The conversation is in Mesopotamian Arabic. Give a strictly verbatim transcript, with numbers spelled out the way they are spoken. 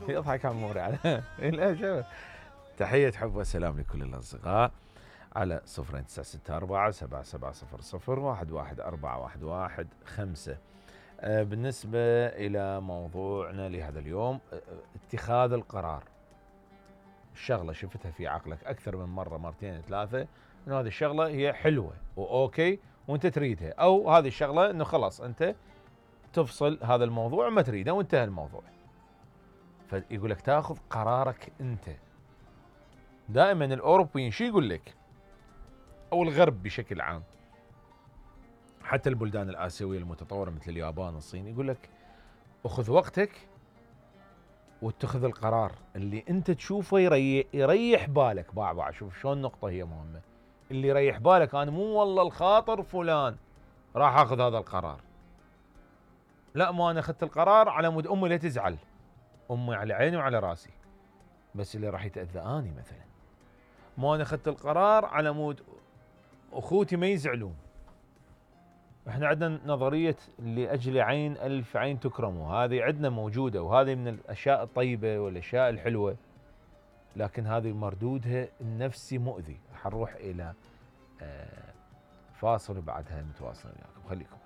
يضحك عموري على لا شوف. تحية حب وسلام لكل الأصدقاء على صفرين تسعة ستة أربعة سبعة سبعة صفر صفر واحد واحد أربعة واحد واحد خمسة. آه بالنسبة إلى موضوعنا لهذا اليوم، آه اتخاذ القرار. الشغلة شفتها في عقلك أكثر من مرة، مرتين ثلاثة، إنه هذه الشغلة هي حلوة وأوكي وأنت تريدها، أو هذه الشغلة إنه خلاص أنت تفصل هذا الموضوع وما تريده وانتهى الموضوع. فيقول لك تاخذ قرارك أنت. دائما الأوروبيين شو يقول لك، أو الغرب بشكل عام، حتى البلدان الآسيوية المتطورة مثل اليابان والصين، يقول لك أخذ وقتك واتخذ القرار اللي أنت تشوفه يريح, يريح بالك. باع باع شوف شلون النقطة هي مهمة، اللي يريح بالك. أنا مو والله الخاطر فلان راح أخذ هذا القرار، لا، ما أنا أخذت القرار على مود أمي لا تزعل، أمي على عيني وعلى راسي، بس اللي راح يتأذى أني مثلا. ما أنا أخذت القرار على مود أخوتي ما يزعلون. احنا عندنا نظرية لأجل عين ألف عين تكرموا، هذه عندنا موجودة، وهذه من الأشياء الطيبة والأشياء الحلوة، لكن هذه مردودها النفسي مؤذي. حنروح إلى فاصل وبعدها نتواصل وياكم، خليكم.